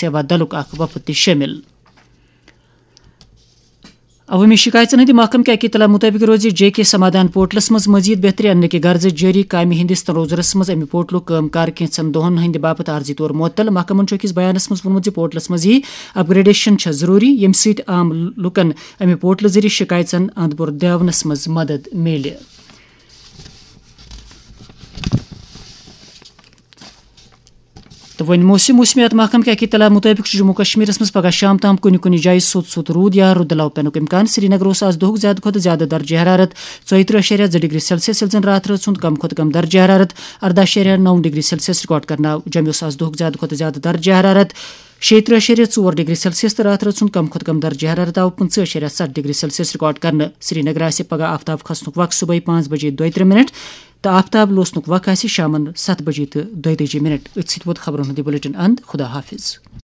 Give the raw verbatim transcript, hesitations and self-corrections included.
تہٕ وۄدلُک اکھ وفد تہِ شٲمِل۔ عوٲمی شِکایژن ہٕنٛدِ محکمہٕ کہِ اطلاع مُطٲبِق روزِ جے کے سمادھان پورٹلس منٛز مزید بہتری اننہٕ کہِ غرضہٕ جٲری کامہِ ہٕنٛدِس تنوظرس منٛز اَمہِ پورٹلُک کٲم کار کینٛژن دۄہن ہٕنٛدِ باپتھ عارضی طور معطل۔ محکمن چھُ أکِس بیانس منٛز ووٚنمُت زِ پورٹلس منٛز یِیہِ اپگریڈیشن چھےٚ ضروٗری، ییٚمہِ سۭتۍ عام لوٗکن اَمہِ پورٹلہٕ ذٔریعہٕ شِکایژن اَنٛد پورٕ دیاونس منٛز مدد میلہِ۔ تہٕ وۄنۍ موسم۔ موسمیات محکمہٕ کہِ اطلاع مُطٲبِق چھُ جموں کشمیرس منٛز پگہہ شام تام کُنہِ کُنہِ جایہِ سوٚت سوٚت روٗد یا رُدٕ لو پینُک امکان۔ سرینگرٕ اوس آز دۄہُک زیادٕ کھۄتہٕ زیادٕ درجہ حرارت ژۄیہِ ترٕٛہ اَشاریہ زٕ ڈگری سیلسیس، ییٚلہِ زن راتھ رٲژ ہُنٛد کم کھۄتہٕ کم درجہ حرارت ارداہ اَشاریہ نَو ڈگری سیلسیس ریکارڈ کرنہٕ آو۔ جوٚمہِ اوس آز دۄہُک زیادٕ کھۄتہٕ زیادٕ درجہ حرارت شیٚیہِ ترٕٛہ اَشاریہ ژور ڈگری سیلسیس تہٕ راتھ رٲژ ہُنٛد کم کھۄتہٕ کم درجہ حرارت آو پٕنٛژٕہ اَشاریہ ستھ ڈگری سیلسیس ریکارڈ کرنہٕ۔ سرینگر آسہِ پگہہ آفتاب کھسنُک وق صبحٲے پانٛژھ بجے دۄیہِ ترٕٛہ منٹ تہٕ آفتاب لوسنُک وق آسہِ شامن ستھ بجے تہٕ دۄیہِ تٲجی منٹ۔ أتھۍ سۭتۍ ووت خبرن ہُنٛد یہِ بلیٹن اند۔ خدا حافظ۔